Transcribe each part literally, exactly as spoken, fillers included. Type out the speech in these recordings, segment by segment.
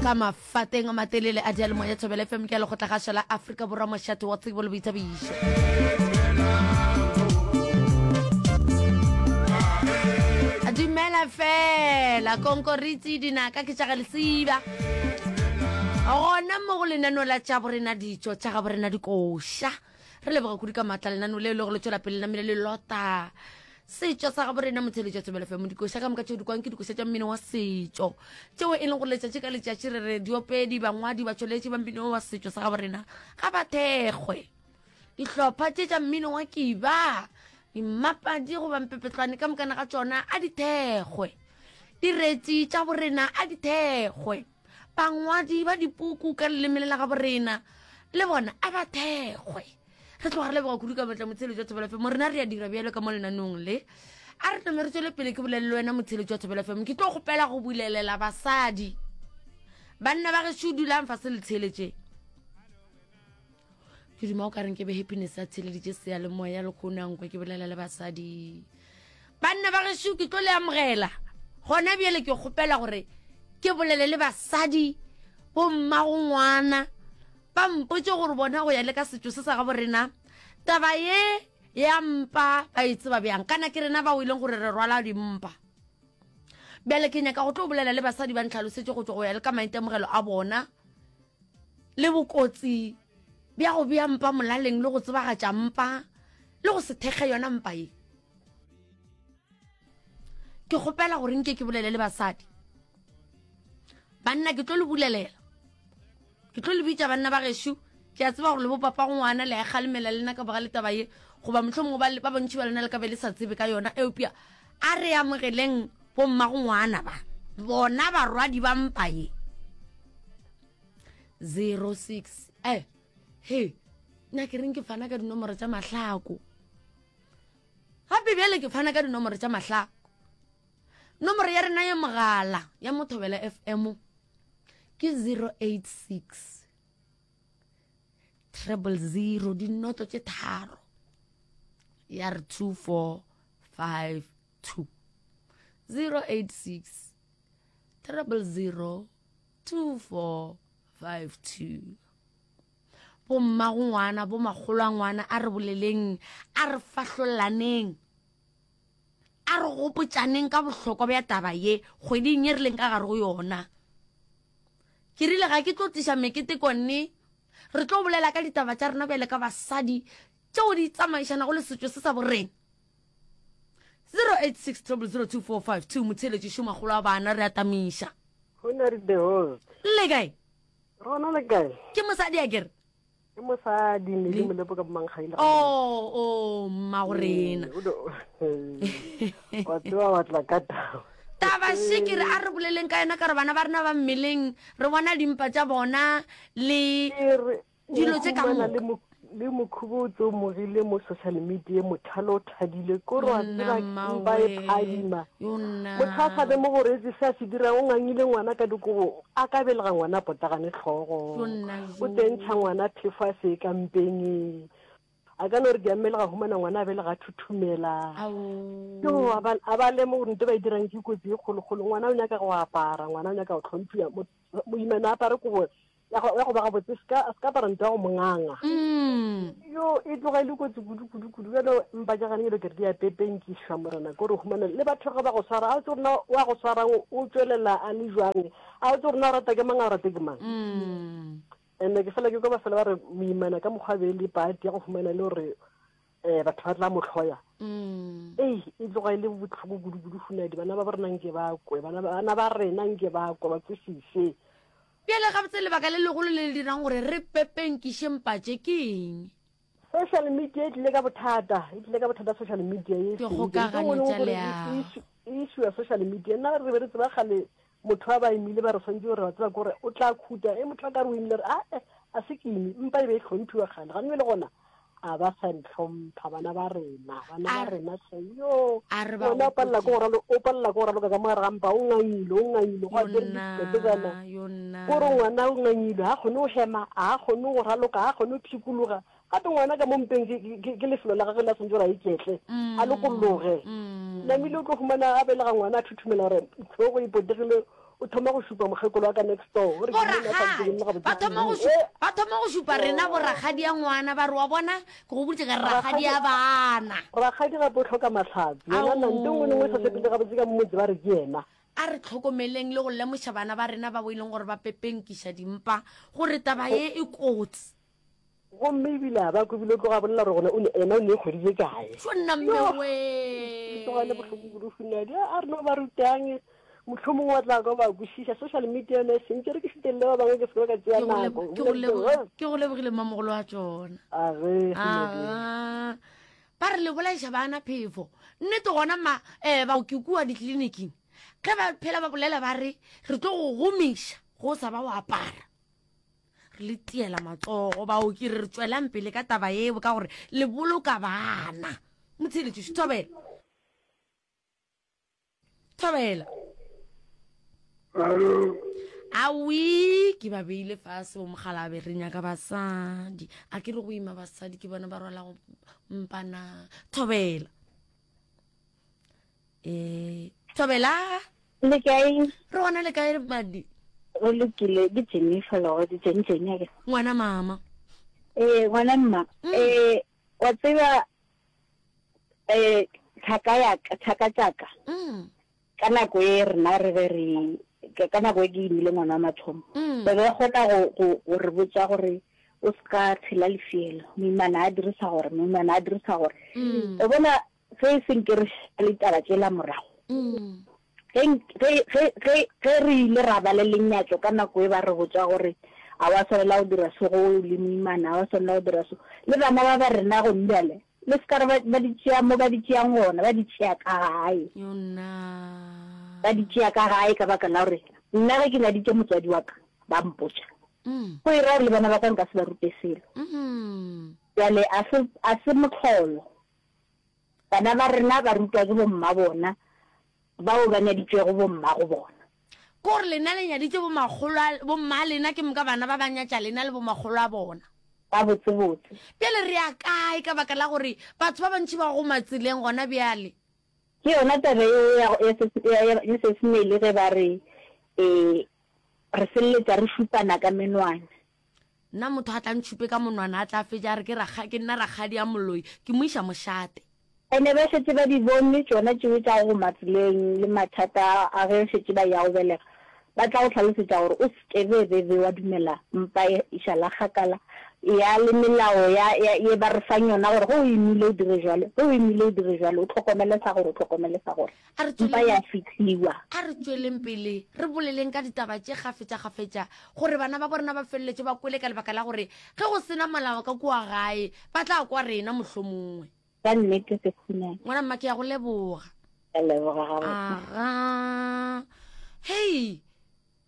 Ka mafateng a matelele a diyalemoya Thobela F M ke ya lekgotlagašo la Afrika Borwa, mošate wa tsebo le boithabišo. Dumela fela konkoritsi dinaka ke tša ga lesiba gona mo go lenaneo la tša borena ditšo tša ga borena dikoša. Re leboga kudu ka maatla lenaneo leo le go le tšwela pele namile le lota setšo sa gabo rena. Motheletšo Thobela F M, dikoša ka moka tšeo di kwang ke dikoša tša mmino wa setšo tšeo e leng gore letšatši ka letšatši re re diopedi, bangwadi, batšweletši ba mmino wa setšo sa gabo rena ga ba thekgwe. Dihlopha tše tša mmino wa kiba, dimmapadi goba mpepetlwane ka mokana ga tšona a di thekgwe, diretši tša borena a di thekgwe, bangwadi ba dipuku ka leleme le la gabo rena le bona a ba thekgwe. Re tloga re leboga kudu ka matla motheletšo wa Thobela F M. Rena re a dira bjalo ka mo lenanong le a re tome re tswele pele. Ke bolele le wena motheletšo wa Thobela F M, ke tlo kgopela go bulelela basadi. Banna ba gešo, dulang fase le theeletše. Ke duma o ka reng ke be Happiness a theeleditše seyalemoya le kgonang kwa ke bolela le basadi. Banna ba gešo, ke tlo le amogela gona bjale. Ke kgopela gore ke bolele le basadi, bommago ngwana, ba mpotse gore bona go ya le ka setšo se sa gabo rena taba ye ya mpa ba e tseba bjang. Kana ke rena bao e leng gore re rwala dimpa. Bjale ke nyaka go tlo bolela le basadi, ba ntlhalosetše go tšwa go ya le ka maitemogelo a bona le bokotsi bja go bea mpa molaleng le go tsebagatša mpa le go se thekge yona mpa ye. Ke kgopela gore nke ke bolele le basadi. Banna, ke tlo le bulelela, ke tlo le bitša banna ba gešo. Ke a tseba gore le bopapa go ngwana le a kgalemela lena ka boga le taba ye, goba mohlomongwe ba ba bontši ba lena le ka be le sa tsebe ka yona, eupša a re amogeleng bomma go ngwana ba bona barwadi ba mpa ye. zero six eh he nna ke reng ke fana ka dinomoro tša mahlako gape. Bjale ke fana ka dinomoro tša mahlako. Nomoro ya rena ya mogala ya Mothobela F M ke zero eight six treble zero dinoto tše tharo ya re two four five two, zero eight six treble zero two four five two. Bommago ngwana, bomakgolo a ngwana, a re boleleng, a re fahlolaneng, a re gopotšaneng ka bohlokwa bja taba ye kgweding ye re leng ka gare go yona. Ke rile ga ke tlo tliša meketeko nne, re tlo bolela ka ditaba tša rena bjale ka basadi tšeo di tsamaišanago le setšo se sa borena. zero eight six zero zero two four five two. Motheeletši šomakgolo a bana, re atamiša. Go the host. Le kae? Rona, le kae? Ke mosadi a kere? Ke mosadi ne le molepo ka bomankgaile. O o mmago rena. Wa tseba wa tla ka taba. Taba še ke re a re boleleng ka yona ka re bana ba rena ba mmeleng re bona dimpa tša bona le dilo tše ka moka. Le mokhubo o tse o mogile mo social media, mothalo o thadile kore wa tseba mpa e phadima. Motho a sa be mo gore etse se a se dirang, o ngangile ngwana ka dikobo, a ka belega ngwana a potagane tlhogo, o tsentšha ngwana phefo a se ka mpeng, a ka no re ke a mmelega, humana ngwana a belega a thuthumela. Yo a ba lemo gore nto ba e dirang ke kotsi e kgolokgolo. Ngwana o nyaka go apara, ngwana o nyaka go tlhomphiwa, moimana a apare kobo ya go ba gabotse, se ka apara nto ya go monganga. Yo e tloga e le kotsi kudu kudu kudu. Bjalo mpa tša gane elo ke re di a pepenkišwa morena, ke gore humana le batho ge ba go swara, a o tse gore na wa go swarang o tswelela a le jwang, a o tse gore na o rata ke mang, a o rate ke mang. And ke fela ke kwa ba fela ba re moimana ka mokgwa be le pati ya go humana le gore um batho ba tla mo hloya. Ei, e tloga e le botlhoko kudu kudu. Hunadi bana ba ba rena nke ba kwe, bana ba rena nke ba kwe, ba kwešiše. Bjale gabotse lebaka le legolo le le dirang gore re pepenkiše mpatše ke eng? Social media e tlile ka bothata, e tlile ka bothata social media e. Dikgokagano tša leago. Issue ya social media, nna re be re tseba kgale motho a ba imile ba re swantse gore wa tseba kore o tla khuta e motho a ka re o imile re a a se ke ime. Mpa e be e hlomphiwa kgale, gane le gona a ba sa ntlhompha bana ba rena, bana ba rena hle. Yo ngwana o palela ke go o palela ke go raloka ka mo gare ga mpa, o ngangile, o ngangile go apere dikepetsana, kore ngwana o ngangile, ga kgone go hema, ga kgone go raloka, ga kgone go phikologa. Gape ngwana ka mo mpeng ke lefelo la gagwe la swantse gore a iketle, a lokologe. Namile o tlo humana a belega ngwana a thuthumela gore tlhogo e potegile. O thoma go šupa mokgekolo wa ka next door. O re ke monna a sa ntsebeng le gabotse Ba thoma go kudu. šu- Eh, ba thoma go šupa rena borakgadi ya ngwana ba re wa bona ke go boditše ka re rakgadi ya bana. Rakgadi gape o hloka mahlatse. Yena na nto nngwe le nngwe e sa sepele gabotse ka motse ba re ke yena. A re hlokomeleng le go lemoša bana ba rena bao e leng gore ba pepenkiša dimpa gore taba ye e kotsi. Gomme ebile a ba kwe ebile o tloga a bolela gore gona o ne ena o ne e kgweditše kae. Tšo nna mme Yo! wee. E tloga e le bohloko kudu Funadi. A re no ba rutang mohlomongwe wa tla kwa ba kwešiša. Social media yona e sentše re ke šitelele ba bangwe ke se ke ka tšea Ke go nako. lebo- ke go lebo- ke go lebogile mmamogolo wa tšona. A ge Funadi. Aga. Ba re le bolaiša bana phefo. Nnete gona ma eh baoki kua ditleliniking ge ba phela ba bolela ba re re tlo go gomiša go sa ba o apara. Re le tiela matsogo baoki re re tswelang pele ka taba eo ka gore le boloka bana. Motsheletši thobela. Thobela. Alo. Awi ke ba beile fase bo mogalabe re nyaka basadi. A ke re go ima basadi ke bona ba rwalago mpana. Thobela. Eh thobela. Le kae? Re gona le kae madi? Re lokile ke Jennifer Logodi, Jenny Jenny a ke. Ngwana mama. Eh ngwana mma. Mm. Eh wa tseba eh thaka ya ka, thaka tšaka. Mm. Ka nako e rena re be re ka, ka nako e ke imile ngwana wa mathomo. Mm. Ba be kgona go, go, go re botša gore o se ka tshela lefielo. Moimana a dirisa gore, moimana a dirisa gore. Mm. O bona ge e seng ke re le taba tšela morago. Mm. Ge, ge, ge, ge, ge re ile ra ba le lenyatšo ka nako e ba re botša gore a wa swanela go dira so go le moimana, a wa swanela go dira so. Le bana ba ba rena go bjale, le se ka re ba, ba di tšea mo ba di tšeang gona, ba di tšea ka gae. Yona. Ba di tšea ka gae ka baka la gore nna ge ke nyaditše motswadi wa ka, ba mpotša. Mm. Go e ra gore le bana ba ka nka se ba rute selo. Mm. Bjale a se, a se mohlolo. Bana ba rena ba rutwa ke bomma bona, bao ba nyaditšwego bomma go bona. Ke gore lena le nyaditše bomakgolo a, bomma lena ke moka bana ba ba nyatša lena le bomakgolo a bona. Ba botsebotse. Bjale re ya kae ka baka la gore batho ba bantši ba go matseleng gona bjale? Ke yona taba eo ya, ya se, ya, ya, ya Sesemele ge ba re, eh, re feleletša re šupana ka menwana. Nna motho a tla ntšhupe ka monwana a tla fetša a re ke rakga, ke nna rakgadi ya moloi, ke mo iša mošate. Ene ba šetše ba di bone tšona tšeo tša go matseleng le mathata a ge šetše ba ya go belega, ba tla go hlalosetša gore o se ke be be be wa dumela mpa e išala kgakala ya le melao ya, ya, ye ba re fang yona gore ge o imile o dire jwalo, ge o imile o dire jwalo, o tlhokomele sa gore, o tlhokomele sa gore. A re Mpa ya tšweleng fihliwa. A re tšweleng pele re boleleng ka ditaba tše kgafetša-kgafetša gore bana ba borena ba feleletše ba kwele ka lebaka la gore ge go sena molao ka kua gae ba tla kwa rena mohlomongwe. Ka nnete se khunang. Ngwana mma ke ya go leboga. Ke leboga gabotse. Aga. Hei,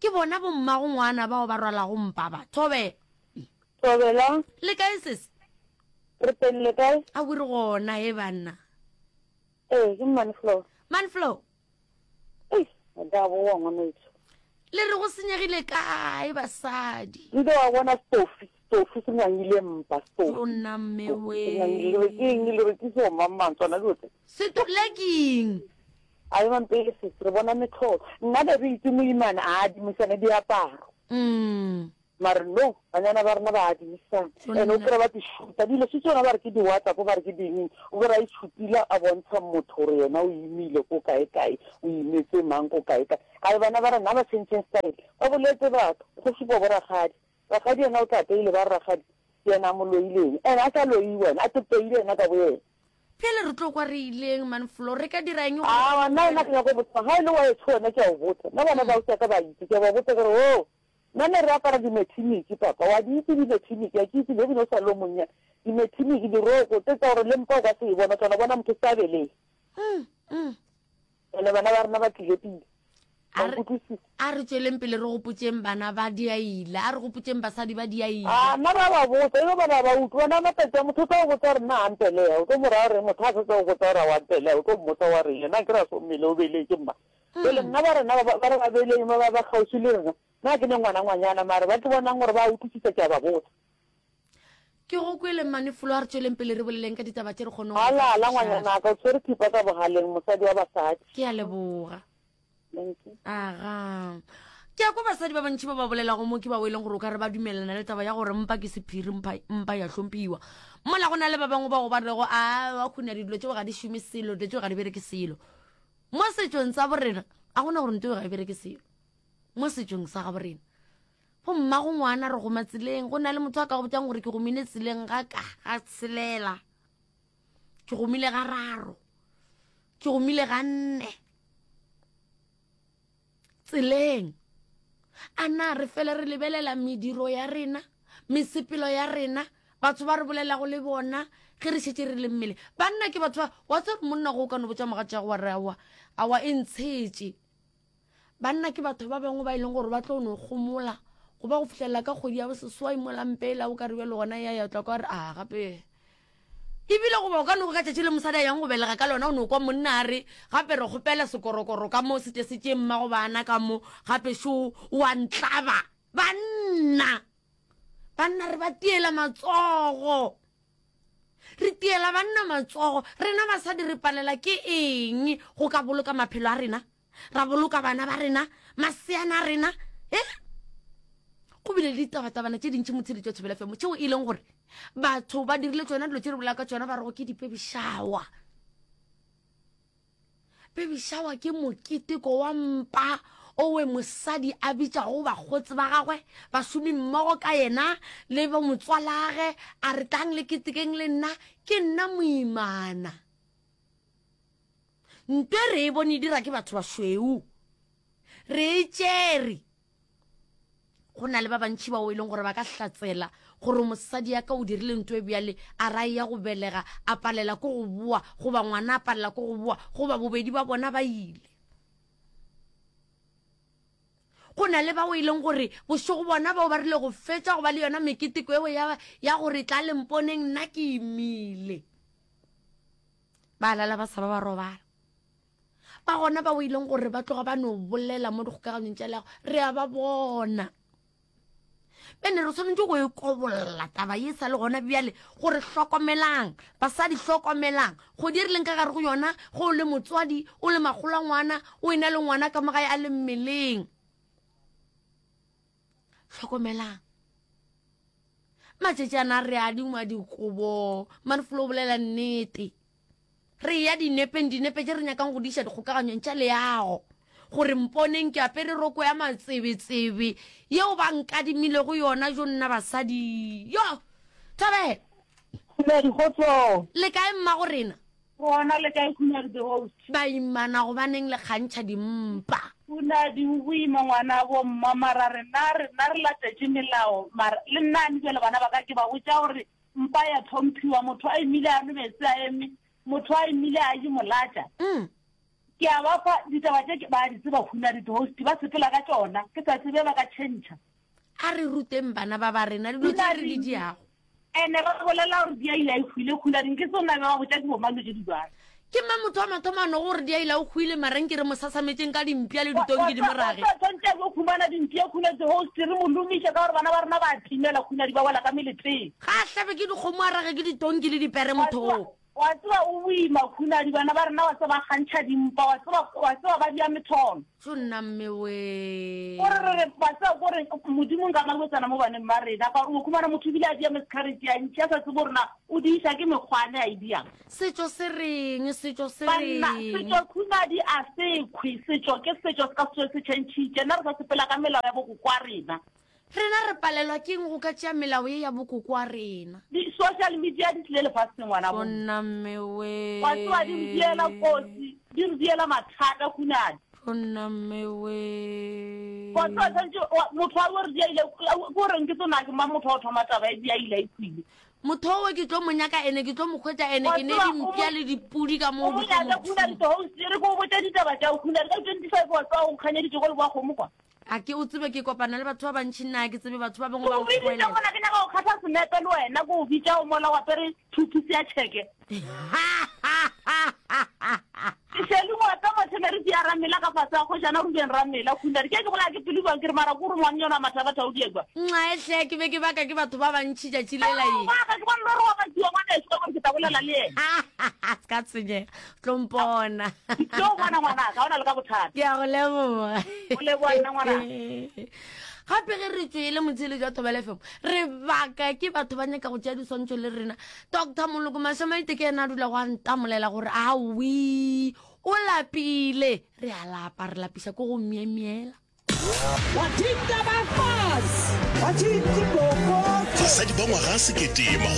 ke bona bommago ngwana bao ba rwalago mpa ba. Thobela. Thobela. Le kae sesi? Re teng le kae? A o re gona he banna. Ee, ke Manflow. Manflow. Ei, nka boa ngwanetso. Le re go senyegile kae basadi? Nke wa bona stofi, stofi se ngangile mpa, stofi. O nna mme we. Se ngangile, le re ke eng, le re ke so mang mang tsona dilo tse. Setole ke eng? A e mampele sesi, re bona metlholo. Nna be re itse moimana a adimisane diaparo. Mm. Mare no, banyana ba rena ba adimisana. Tsona Ene o nna. kry-a ba di shoota. Dilo se tsona ba re ke di-WhatsApp, ba re ke ding. O kry-a e shootile a bontsha motho gore yena o imile ko kae kae, o imetse mang ko kae kae. Ai bana ba rena ba changeng style. Ba boletse batho, go supa bo rakgadi. Rakgadi yena o tla peile ba re rakgadi ke yena a mo loileng. Ene a sa loiwe wena, a tepeile yena ka bo yena. Pele re tlo kwa re ileng Manflow, re ka dira eng gore Aowa, nna wena ke nyaka go botsa, ga e le wa etsho wena ke a o botsa. Nna bana ba ausi ka ba itse, ke a ba botsa ke re, oh, nna ne re apara dimethimiki papa, wa di itse dimethimiki, a ke itse le ebile o sa le o monnyane. Dimethimiki, diroko tse tsa gore le mpa o ka se e bona, tsona bona motho sa beleng. Mm, mm. Ene bana ba rena ba tlile pele. A re, Ba nkutlwisisa. a re tsweleng pele re gopotšeng bana ba diaila, a re gopotšeng basadi ba diaila. A nna ba ba botsa, ebe bana ba utlwa, bana ba matsatsi a motho o tla go botsa gore nna a mpeleya, o tlo mo raya gore motho a fetsa go botsa gore a wa mpeleya, o tlo mmotsa wa reng, yena ke ra so mmele o beletše mma. Pele nna ba rena ba, ba re ba beleng ba ba ba kgauswi le rena, nna ke ne ngwana ngwanyana, mare ba tlo bonang gore ba utlwisisa ke a ba botsa. Ke go kwele Manflow, a re tsweleng pele re boleleng ka ditaba tše re kgoneng go Alala di ngwanyana ka, o tshwere thipa ka bogaleng, mosadi wa basadi. Ke a leboga. Thank you. Aga. Ke a kwa basadi ba bantši ba ba bolelago mo ke bao e leng gore o ka re ba dumelelana le taba ya gore mpa ke sephiri, mpa, mpa ya hlomphiwa. Mola go na le ba bangwe bao ba rego a wa khuna dilo tšeo ga di šome selo, dilo tšeo ga di bereke selo. Mo setšong sa borena a gona gore nto ga e bereke selo. Mo setšong sa ga borena. Go mmago ngwana re goma tseleng, go na le motho a ka go botšang gore ke gomile tseleng ga ka ga tshelela. Ke gomile ga raro. Ke gomile ga nne. Tseleng. A na re fele re lebelela mediro ya rena, mesepelo ya rena, batho ba re bolelago le bona ge re šetše re le mmele. Banna ke batho ba, wa tseba gore monna go o ka no botša mogatšago wa re aowa, aowa e ntshetše. Banna ke batho ba bangwe ba e leng gore ba tlo no gomola go ba go fihlelela ka kgwedi ya boseswai mola mpela o ka re bjalo gona ya ya tla kwa re a gape. Ebile goba o ka no kwa ka tšatši le mosadi a yang go belega ka lona o no kwa monna a re gape re kgopela sekorokoro ka mo se tle se tšee mmago bana ka mo gape šo o a ntlaba. Banna! Banna re ba tiela matsogo. Re tiela banna matsogo. Rena basadi re palela ke eng go ka boloka maphelo a rena? Ra boloka bana ba rena, maseana a rena, eh? Go bile le ditabatabana tše dintši motsheletšo Thobela F M tšeo e leng gore batho ba dirile tšona dilo tše re bolela ka tšona ba rego ke di-baby shower. Baby shower ke moketeko wa mpa owe mosadi a bitšago bakgotsi ba gagwe, bašomi mmogo ka yena le bo motswalage, a re tlang le ketekeng le nna, ke nna moimana. Nto e re e bone e dira ke batho bašweu, re e tšere. Go na le ba bantši bao e leng gore ba ka hlatsela gore mosadi ya ka o dirile nto e bjale, a ra ya go belega, a palela ko go boa, goba ngwana a palela ko go boa, goba bobedi ba bona ba ile. Go na le bao e leng gore bošego bona bao ba rile go fetša go ba le yona meketeko eo ya, ya gore tla le mponeng nna ke imile. Ba lala ba sa ba ba robala. Ba gona bao e leng gore ba tloga ba no bolela mo dikgokaganyong tša leago, re a ba bona. Bene re swanetše go e kobolla taba ye sa le gona bjale, gore hlokomelang, basadi hlokomelang, kgwedi e re leng ka gare go yona, ge o le motswadi, o le makgolo a ngwana, o ena le ngwana ka mo gae a le mmeleng. Hlokomelang. Matšatši ana re adingwa dikobo, Manflo o bolela nnete. Re ya dinepeng, dinepe tše re nyakang go di iša dikgokaganyong tša leago, gore mponeng ke apere roko ya matsebetsebe yeo ba nkadimilego yona, jo nna basadi. Yo! Thabela! Khumedi, kgotsong. Le kae mmago rena? Gona le kae Khumedi the host? Baimana gobaneng le kgantšha dimpa? Khunadi o boima ngwana bo mma mara rena rena re latetše melao mara le nna ane bjale bana ba ka ke ba botša gore mpa ya tlhomphiwa motho a imile a nwe meetse a eme motho a imile a je molatša. Mm. Ke a ba fa ditaba tše ke ba di tseba Khunadi the host ba sepela ka tšona ke sa tsebe ba ka tšhentšha. A re ruteng bana ba ba rena dilo tše re di diago. Ene ba bolela gore diaila e hwile Khunadi ke sona ba botša ke bomang tše di jwalo. Ke mang motho wa mathomo a nogo gore diaila o hwile mara nke re mo sasametšeng ka dimpša le ditonki di mo rage. Wa tshwantše go khumana dimpša Khunadi the host re mo lomiše ka gore bana ba rena ba timela Khunadi ba wela ka meleteng. Ga a hlabe ke dikgomo a rage ke ditonki le dipere motho oo. Wa tseba o boima Khunadi bana ba rena wa tseba ba kgantšha dimpa wa tseba wa tseba ba dia metholo. Tšo nna mme we. Gore re re wa tseba gore Modimo nka malwetsana mo baneng ba rena ka gore o khumana motho ebile a dia miscarriage ya ntši a sa tsebe gore na o di iša ke mekgwane a e diang. Setšo se reng setšo se Banna reng. setšo Khunadi a se khwi setšo ke setšo se ka se se tšhentšhitše nna re sa sepela ka melao ya bokoko a rena. Rena re palelwa ke eng go ka tšea melao ye ya bokoko wa rena? Di-social media di tlile lefaseng ngwana bo. Tšonna mme we. Wa tseba di re diela kotsi, di re diela mathata Khunadi. Tšonna mme we. Wa tseba tshwantše motho wa re diaile ke gore nke tsona ke mang motho wa go thoma taba e diaile e khwile. Motho owe ke tlo mo nyaka ene ke tlo mo hwetša ene ke ne dimpša le dipudi ka moo O mo nyaka Khunadi the host re ko botša ditaba tša Khunadi ka twenty-five wa tseba o nkganyeditše go leboa kgomo kwa. A ke o tsebe ke kopana le batho ba bantši nna ke tsebe batho ba bangwe ba Ko biditše nkgoelela. gona ke nyaka go kgatha senepe le wena ko o bitša o mola o apere two piece ya tšheke. Ke šele ngwata matheme re di arabile. Ramela ka fase ga kgošana Ruben Ramela, Khunadi. Ke ke bolaya ke pelo bjang ke re mara ko re ngwannyana wa Mathabatha o diekwa. Nxa hle ke be ke baka ke batho ba bantši tšatši lela Ee, ye. o baka, ke bone le gore wa bakiwa ngwaneso ka gore ke tla bolela le yena. Se ka tshwenyega, o tlo mpona. Ke tlo go bona ngwanaka, ga o na le ka bothata. Ke a go leboga. O leboga nna ngwanaka. Gape ge re tšwele motsheletši wa Thobela F M, re baka ke batho ba nyaka go tšea diswantšho le rena. Doctor Moloko Mashamaite ke yena a dula go a ntamolela gore awi o lapile. Re a lapa, re lapiša ko go myemyela. Basadi ba ngwaga sekete